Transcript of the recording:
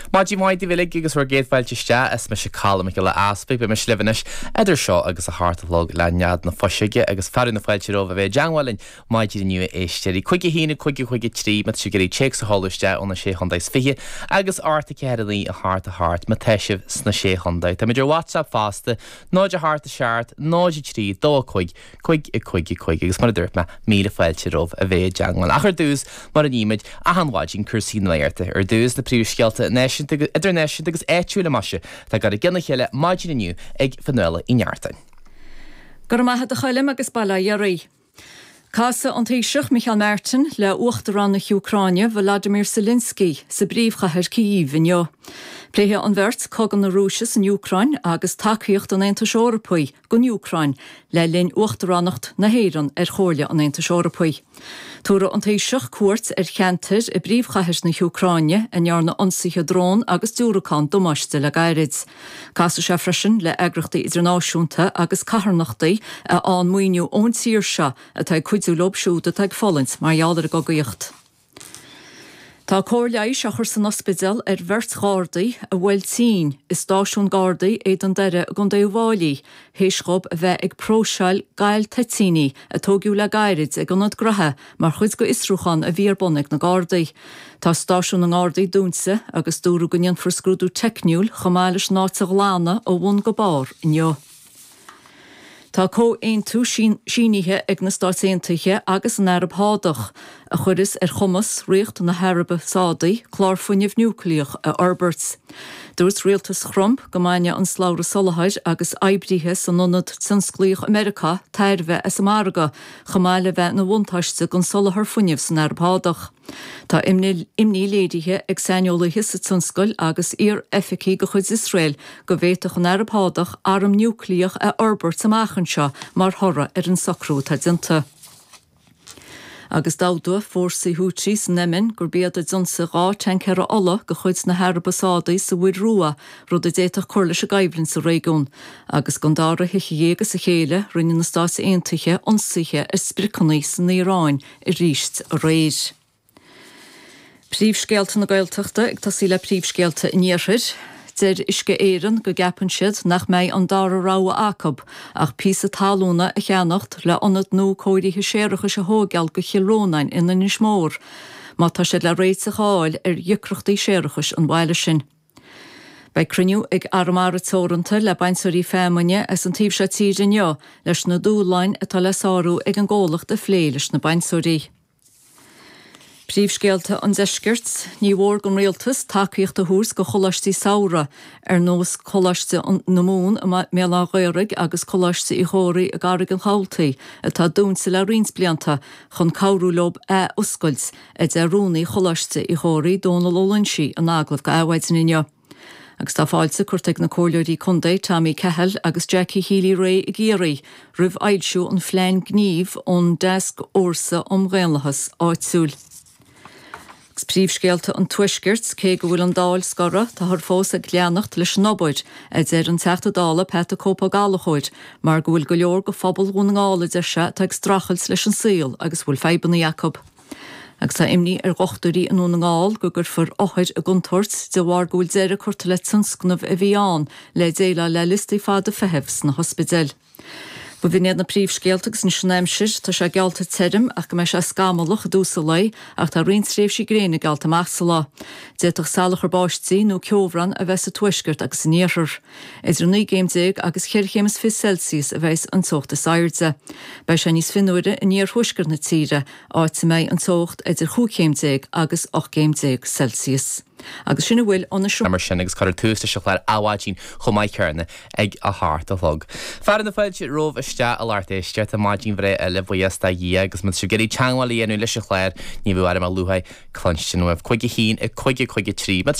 Maidin mhaith daoibh uilig agus bhur gcéad fáilte isteach. Is mise Colm Mac Giolla Easpaig. Beidh mise libh anois idir seo agus a hocht a chlog le nead na fuiseoige agus fearadh na fáilte romhaibh a bheith i dteangmháil linn maidin inniu a éisteoirí. 5 1 5 5 3 má tá sibh ag iarraidh téacs a sheoladh isteach ó na Sé Chontae is Fiche agus 8 4 9 8 8 má tá sibh sna Sé Chontae. Táimid ar WhatsApp fosta, 0 8 7 0 3 2 5 5 5 5 agus mar a dúirt mé, míle fáilte romhaibh a bheith i dteangmháil. Ach ar dtús, mar a nímid achan mhaidin, cúrsaí nuachta. Ar dtús, na príomhscéalta náisiúnta, idirnáisiúnta agus áitiúla, maise, atá ag dul i gcionn a chéile maidin inniu ag Fionnuala Uí Neachtain. Go raibh maith agat a Choilm agus bail ó Dhia oraibh. Casfaidh an Taoiseach Micheál Martin le Uachtarán na hÚcráine Volodymyr Zelensky sa bpríomhchathair Kyiv inniu. Pléifidh an bheirt cogadh na Rúise san Úcráin agus tacaíocht an Aontais Eorpaigh don Úcráin le linn uachtaránacht na hÉireann ar Chomhairle an Aontais Eorpaigh. Tabharfaidh an Taoiseach cuairt ar cheantair i bpríomhchathair na hÚcráine a ndearna ionsaithe drón agus diúracán damáiste le gairid. Casfaidh sé freisin le eagraíochtaí idirnáisiúnta agus carthanachtaí a fhaigheann maoiniú ón tír seo atá ag cuidiú leo siúd atá ag fulaingt mar gheall ar an gcogaíocht. Tá cóir leighis á chur san ospidéal ar bheirt Ghardaí a bhuail tinn i stáisiún Gardaí Éadan Doire i gContae Uíbh Fháilí théis dhóibh a bheith ag próiseáil gal toitíní a tóigeadh le gairid ag ionad graithe mar chuid de fhiosrúchán a bhí ar bun ag na Gardaí. Tá stáisiún na nGardaí dúnta agus dúradh go ndéanfar scrúdú teicniúil chomh maith leis an áit a ghlanadh ó bhun go barr inniu. Tá comhaontú sínithe ag na Stáit Aontaithe agus an Araib Shádach a chuireas ar chumas Ríocht na hAraibe Sádaí clár fuinnimh núicléach a fhorbairt. Dúirt rialtas Thrump go mbainfeadh an slabhra soláthair agus oibrithe san ionad tionsclaíoch i Meiriceá tairbhe as an margadh chomh maith le bheith ina bhuntáiste don soláthar fuinnimh san Araib Shádach. Tá imní léirithe ag saineolaithe sa tionscal agus iar-oifigigh de chuid Iosrael go bhféadfadh an Araib Shádach arm núicléach a fhorbairt amach anseo mar thoradh ar an socrú atá déanta. Agus d'admhaigh fórsaí Houthi san Eiminn gurb iad a d'ionsaigh 2 tancaera ola de chuid na hAraibe Sádaí sa Mhuir Rua, rud a d'fhéadfadh cur leis an gcoimhlint sa réigiún. Agus don dara hoíche dhéag as a chéile, rinne na Stáit Aontaithe ionsaithe ar spriocanna san Iaráin arís aréir. Príomhscéalta na Gaeltachta ag tosaí le príomhscéalta an Iarthair. Deir Uisce Éireann go gceapann siad nach mbeidh an dara rogha acu ach píosa talúna a cheannacht le ionad nua cóirithe séarachais a thóigeáil go Chill Rónáin in Inis Mór má tá siad le réiteach a fháil ar dheacrachtaí séarachais an bhaile sin. Beidh cruinniú ag Arramara Teoranta le bainteoirí feamainne as an taobh seo tíre inniu leis na dúshláin atá le sárú ag an gcomhlacht a phlé leis na bainteoirí. Príomhscéalta an Deiscirt, Ní mhór don Rialtas tacaíocht a thabhairt do choláistí samhraidh ar nós Coláiste na Mumhan i mBéal Átha Ghaorthaidh agus Coláiste Uí Chomhraí i gCarraig an Chabhaltaigh atá dúnta le roinnt blianta chun cabhrú leo ath-oscailt a deir Rúnaí Choláiste Uí Chomhraí, Dónal Ó Loinsigh, in agallamh do Adhmhaidin inniu. Agus tá fáilte curtha ag na Comhairleoirí Contae Tommy Cahill agus Jackie Healy-Rae i gCiarraí roimh fhoilsiú an phlean gnímh ón dTascfhórsa um Dhaonlathas Áitiúil. Agus príomhscéalta an Tuaiscirt, cé go bhfuil an Dáil scortha, táthar fós ag leanacht leis an obair, a deir an Teachta Dála Pat 'The Cope Ó Gallchóir, mar go bhfuil go leor de phobal Dhún na nGall, a deir sé, atá ag streachailt leis an saol agus a bhfuil fadhbanna acu. Agus tá imní ar dhochtúirí i nDún na nGall go gcuirfear othair i gcontúirt de bharr go bhfuil deireadh curtha le tionscnamh a bhí ann le déileáil le liostaí fada feithimh sna hospidéil. B'in iad na príomhscéalta agus anois an aimsir. Tá sé geallta tirim ach go mbeidh sé scamallach i dtús an lae ach tá roinnt tréimhsí gréine geallta amach sa lá. D'fhéadfadh salachar báistí nó ceobhrán a bheith sa tuaisceart agus san iarthar. Idir 19 gcéim agus cheithre chéim is fiche Celsius a bheas an teocht is airde. Beidh sé níos fionnuaire in iarthuaisceart na tíre, áit a mbeidh an teocht idir chúig chéim déag agus 18 gcéim Celsius. Agus sin a bhfuil ó na. Mar sin, agus cuirfear tús leis an chlár Adhmhaidin chomh maith céanna ag a hocht a chlog. Fearadh na fáilte romhaibh isteach a lucht éisteachta, maidin bhreá eile, buíochas do Dhia, agus má tá sibh ag iarraidh teagmháil a dhéanamh leis an chlár, ní bheadh orm ach luath cluinstin uaibh. 5 1 5 5 3.